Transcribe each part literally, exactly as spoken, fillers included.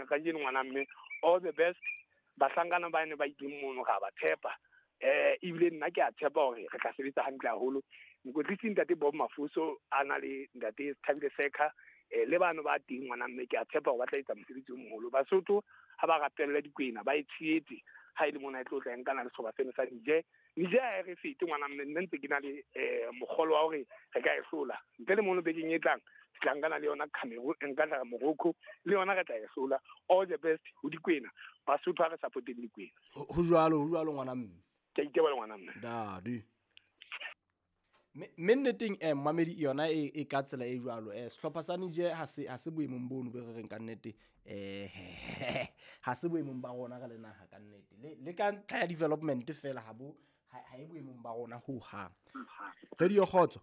kajeno ngwana mme all the best bahlankana ba ne ba ileng mono ga ba tshepa eh ebile nna ke a tshepa hore re tla sebetsa hantle haholo. Mokwetlisi ntate Bob Mafuso a na le ntate Thabile Seka eh le bano ba teng ngwana mme ke a tshepa hore ba tla etsa mosebetsi o moholo. Basotho ha ba rapelle dikwena ba e tshehetse ha ile mona e tlo tla nkana le sehlopha seno sa Niger. Niger ha e re fete ngwana mme nna ntse ke na le eh mogolo wa hore re ka e hlola ntle le mono bekeng e tlang ke tla nkana le yona Cameroon nka tla Morocco le yona re tla e hlola. All the best ho dikwena Basotho ha re supporteng dikwena. Ho jwalo ho jwalo ngwana mme ke a iteboha ngwana mme dadi mme nneteng eh mamedi yona e e ka tsela e jwalo eh sehlopha sa Niger ha se ha se boemong bono be re reng ka nnete eh ha se boemong ba rona ka le naha ka nnete le le ka ntlha ya development fela ha bo ha e boemong ba rona ho hang. Radio Kgotso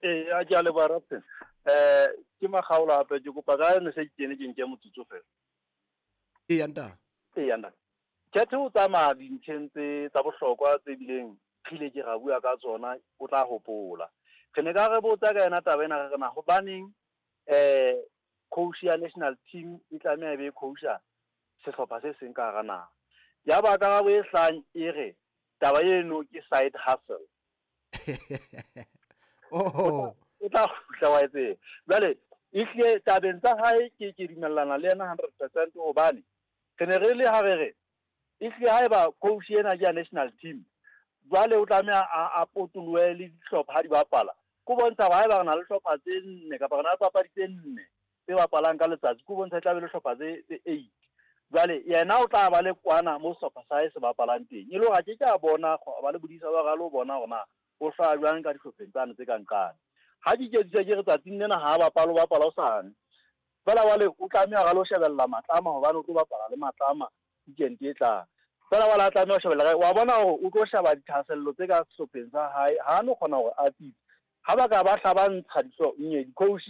eh a ke a leboha Rapsen eh ke Makgaola hape ke kopa ka ne se ke ne ke nke motsotso fela e ya nta e ya nta Khetho o tsamaya dintlheng tse tsa bohlokwa tse bileng khile ke ra bua ka tsona o tla hopola. Re ne ka re botsa ka yena taba ena re re na hobaneng eh coach ya national team e tlameha e be coach ya sehlopha se seng ka hara naha. Ya ba karabo e hlang e re taba eno ke side hustle. Oh o tla kgutla wa etse. Jwale ehlile tabeng tsa hae ke ke dumellana le yena hundred percent hobane re ne re le ha re re ehlile haeba coach ena ke ya national team jwale o tlameha a a potolohe le dihlopha ha di bapala ko bontsha hore haeba re na le hlopha tse nne kapa re na le papadi tse nne tse bapalang ka letsatsi ko bontsha e tla be le hlopha tse tse eight. Jwale yena o tla ba le kwana mo sehlopha sa hae se bapalang teng e le hore a ke ke a bona ba le bodisa ba re lo bona hore na o hlaya jwang ka dihlopheng tsane tse ka nqane. Ha di ke ke re tsatsing lena ha bapala o bapala o sane fela wale o tlameha ra lo shebella Matlama hobane o tlo bapala le Matlama weekend e tlang. Fela wala tlameha ho shebella wa bona hore o tlo sheba dithahasello tse ka sehlopheng sa hae ha no kgona hore a tsitse ha ba ka ba hlabantsha dihlo nye di-coach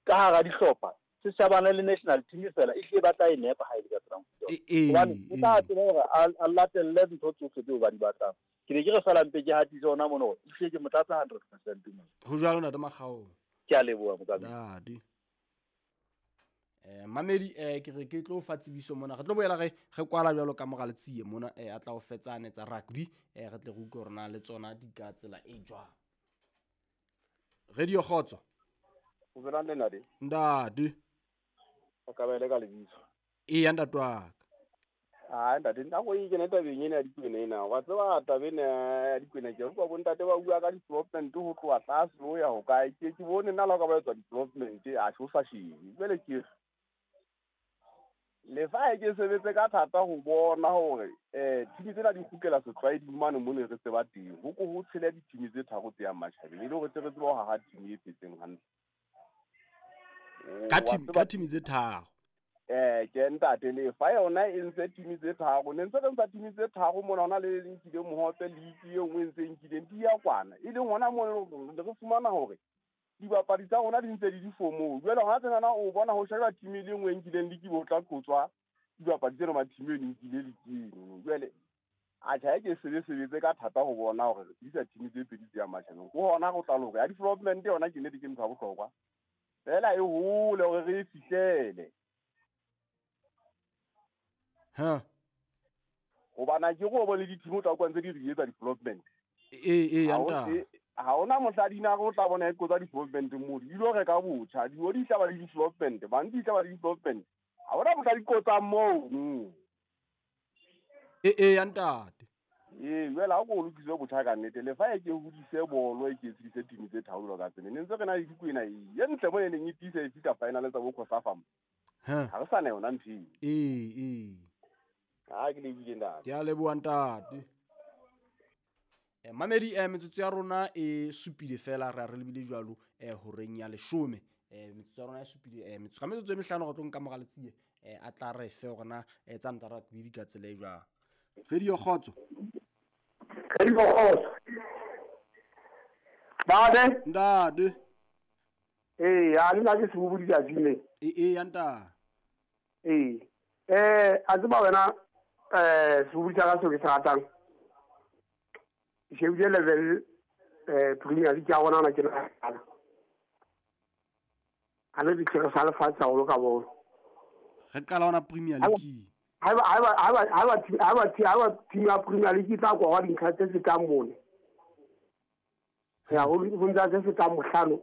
ka hara dihlopha se shabana le national team fela e hle ba tla e nepa ha e le ka tsela hobane o tla tseba hore a latelle ntho tsohle tseo ba di batlang. Ke ne ke re fela mpe ke hatise hona mono hore ehlile ke mo tlatsa hundred percent mo. Ho jwalo ntate Makgaola ke a leboha motsamaisi. Dadi eh mamedi eh ke re ke tlo fa tsebiso mona re tlo boela re re kwala jwalo ka mora letsie mona eh a tla o fetsane tsa rugby eh re tle re utlwe hore na le tsona di ka tsela e jwang. Radio Kgotso o belang le ntate ntate o ka ba le ka lebitso e ya ntate wa ka. Ah ntate nna go e kena tabeng ena ya dikwena ena wa tseba taba ena ya dikwena ke utlwa bo ntate ba bua ka development ho tloha tlase ho ya ho kae ke ke bone nna la ka ba etsa development a sho sa shebe jwale ke le fa e ke sebetse ka thata ho bona hore eh team tsena di kgutlela setlwaeding mane mo ne re tseba teng ho ko ho tshela di-team tse tharo tse yang matjhabeng e le hore re tsebe ho haha team e phetseng hantle ka team ka team tse tharo eh ke ntate le fa yona e ntse team tse tharo ne ntse re ntsa team tse tharo mona hona le nkile mohope league e nngwe ntse nkileng di ya kwana e leng hona mo re fumana hore dibapadi tsa rona di ntse di di formong jwale hona tsena o bona ho sheba team e le nngwe e nkileng league bo tla qotswa dibapadi tsena ma team e nkile league jwale a tjha ke sebe sebetse ka thata ho bona hore re isa team tse pedi tse ya matjhabeng ho hona go tla loka ya development yona ke nnete ke ntho ya bohlokwa fela e hole hore re e fihlele ha hobana ke go bone di-team o tla kwa ntse di re etsa development e e ya nta ha ona mohla dina go tla bona e qotsa development mo di lo reka botjha di o di tla ba le development ba ntse tla ba le development ha ona mohla di qotsa moo e e ya ntate ee jwale ha ko lokiswe botjha ka nnete le fa e ke hodise bolo e ke tshedise team tse tharo ka tsene ne ntse re na le dikwena e ntle mo e neng e tiisa e fihla final tsa bo Cosafa mo ha re sa na yona ntho eo ee ee ha ke lebile ntate ke a leboha ntate. Eh mamedi eh metsotso ya rona e supile fela re re lebile jwalo eh horeng ya leshome eh metsotso ya rona e supile eh metsotso ka metsotso e mehlano re tlo nka mora letsie eh a tla re fe hore na eh tsa nta rugby di ka tsela e jwang. Radio Kgotso Radio Kgotso Bade ntate eh ya nna ke sebubudi ka jime e e ya nta eh eh a tseba wena eh sebubudi sa ka seo ke se ratang ke shebile level eh Premier League ya rona ke nahana a le ditlhare sa lefatshe haholo ka bolo. Re qala hona Premier League. Haeba haeba haeba haeba haeba haeba team ya Premier League e tla kora dintlha tse fetang mone. Ya ho ho ntsa tse fetang mohlano.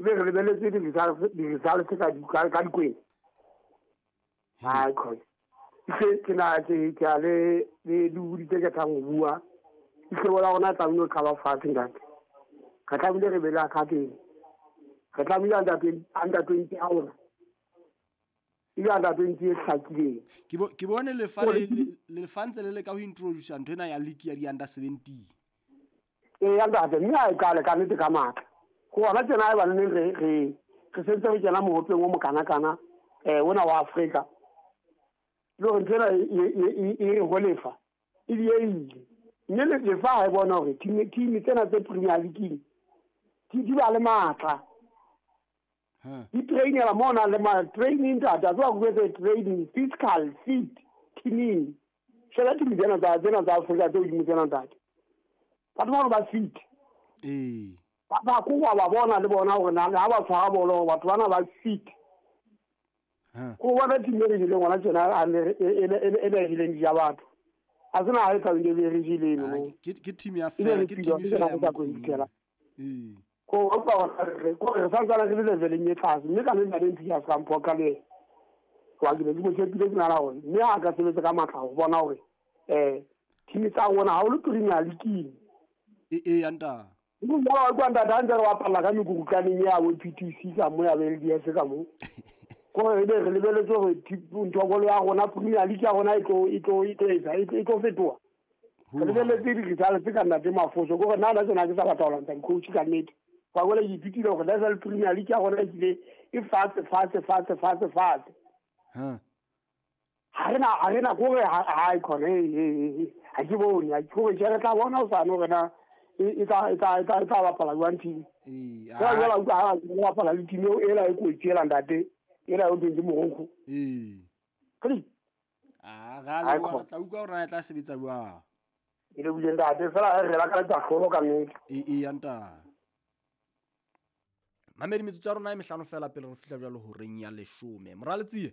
Ebe re lebeletse di-results ka ka dikweng. Hai khona. Ke ke na ke ke a le le di tse ke tlang ho bua. Ke bona rona tlamehile ho qala fatshe ntate. Re tlamehile re be le academy. Re tlamehile under twenty under twenty ya rona. E be under twenty e hlakileng. Ke bo ke bone lefa le lefa ntse le le ka ho introduce ntho ena ya league ya di under seventeen. Ee ntate, mme ha e qale ka nnete ka matla. Go ona tjena ha eba neng re re re sentse re kena mohopeng o mokanakana eh ona wa Afrika. Le hore ntho ena e e ho lefa e dieile. Mme lefa ha e bona hore team team tsena tse Premier League di di ba le matla. Di trainela mona le ma training ntate, a tswa go etsa training physical fit teaming. Sheba team tsena tsa tsena tsa Afrika tse hodimo tsena ntate. Batho ba ba fit. Ee. Ba ba ko wa ba bona le bona hore na ha ba tshwara bolo batho bana ba fit. Ha. Ko bona team e re jileng hona tjena a ne e e e jileng di ya batho. A sena ha e tla be re jileng no. Ke ke team ya fela, ke team fela ya motseng. Ee. Ko ba re ko re santsana re le leveleng e tlase mme ka le nna le ntse ya ska mphoka le. Wa ke le mo tshepile ke nana hore mme ha ka sebetsa ka matla ho bona hore eh team tsa rona ha o le Premier League. E e anta. Mo wa kwa ntate ha ntse re bapalla ka mekukutlaneng ya bo P T C ka mo ya bo L D S ka mo. Ko re be re lebeletse hore nthokolo ya rona Premier League ya rona e tlo e tlo e tlo etsa e tlo fetoha. Re lebeletse di-results ka ntate Mafoso ko re nna na tsena ke sa batla ho lwantsha coach ka nnete. Wa bona ke ithutile hore level Premier League ya rona e kile e fatshe fatshe fatshe fatshe fatshe. Ha. Ha re na ha re na kore ha e khona e ha ke bone ha ke gore re tla bona o sa no rena e tla e tla e tla e tla bapala jwang team. Ee. Ha jwale utlwa ha ba bapala le team eo ela e kotsi ela ntate. Ela o teng ke Morocco. Ee. Kgadi. Ah, ga le wa tla utlwa hore na e tla sebetsa jwang. E le buile ntate fela re la ka tsa hlolo ka nnete. Ee ee anta. Mamedi metsotso ya rona e mehlano fela pele re fihla jwalo horeng ya leshome. Moraletsie.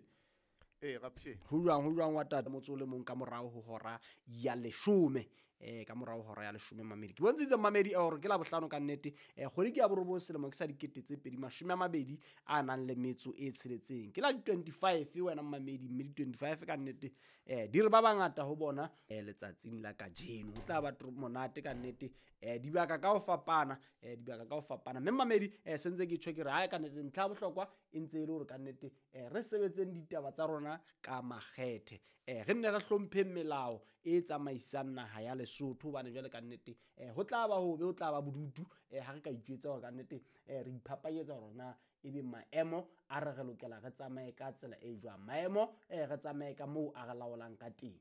Ee rapshe. Ho jwang ho jwang wa tata motso le mong ka morao ho hora ya leshome. Eh ka morao hora ya leshome mamedi. Ke bontshitse mamedi hore ke la bohlano ka nnete. Eh kgwedi ke ya borobong selemo ke sa dikete tse pedi mashome a mabedi a nang le metso e tsheletseng. Ke la di twenty-five wena mamedi mme di twenty-five ka nnete. Eh di re ba bangata ho bona eh letsatsing la kajeno. Ho tla ba monate ka nnete. Eh dibaka ka ho fapana, eh dibaka ka ho fapana. Mme mamedi eh sentse ke tjho ke re ha ka nnete ntlha ya bohlokwa e ntse e le hore ka nnete eh re sebetseng ditaba tsa rona ka makgethe. Eh re nne re hlompheng melao e tsamaisang naha ya Lesotho hobane jwale ka nnete eh ho tla ba hobe ho tla ba bodutu eh ha re ka itjwetsa hore ka nnete eh re iphapanyetsa hore na ebe maemo a re re lokela re tsamaye ka tsela e jwang. Maemo eh re tsamaye ka moo a re laolang ka teng.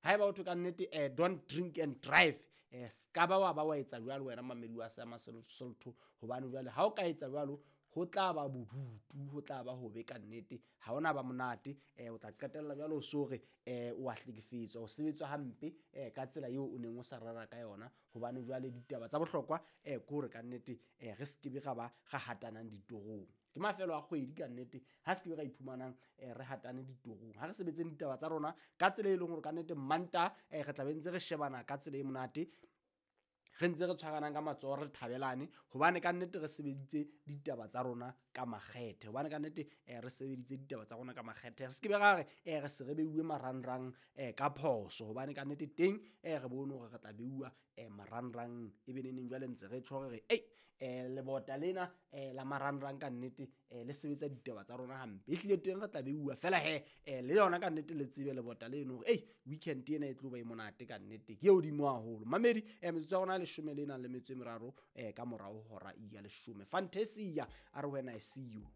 Haeba o thwe ka nnete eh don't drink and drive eh ska ba wa ba wa etsa jwalo wena mamedi wa sa Maselotho hobane jwale ha o ka etsa jwalo ho tla ba bodutu ho tla ba hobe ka nnete ha ona ba monate eh o tla qetella jwalo o sore eh o a hlekefetswa o sebetswa hampe eh ka tsela eo o neng o sa rera ka yona hobane jwale ditaba tsa bohlokwa eh ke hore ka nnete eh re skebe ra ba ra hatanang ditorong. Ke mafelo a kgwedi ka nnete ha se ke ra iphumanang eh re hatane ditorong. Ha re sebetseng ditaba tsa rona ka tsela e leng hore ka nnete Manta eh re tla be ntse re shebana ka tsela e monate re ntse re tshwaranang ka matsoho re thabelane hobane ka nnete re sebeditse ditaba tsa rona ka makgethe hobane ka nnete eh re sebeditse ditaba tsa rona ka makgethe. Re se ke be ra re eh re se re beuwe marangrang eh ka phoso hobane ka nnete teng eh re bone hore re tla beuwa eh marangrang e be neneng jwale ntse re tjho re ei eh lebota lena eh la marangrang ka nnete eh le sebetsa ditaba tsa rona hampe e hlile teng re tla beuwa fela he eh le yona ka nnete le tsebe lebota leno hore ei weekend ena e tlo ba e monate ka nnete ke e hodimo haholo. Mamedi eh metsotso ya rona leshome le nang le metso e meraro eh ka morao hora ya leshome. Fantasia a re wena I see you.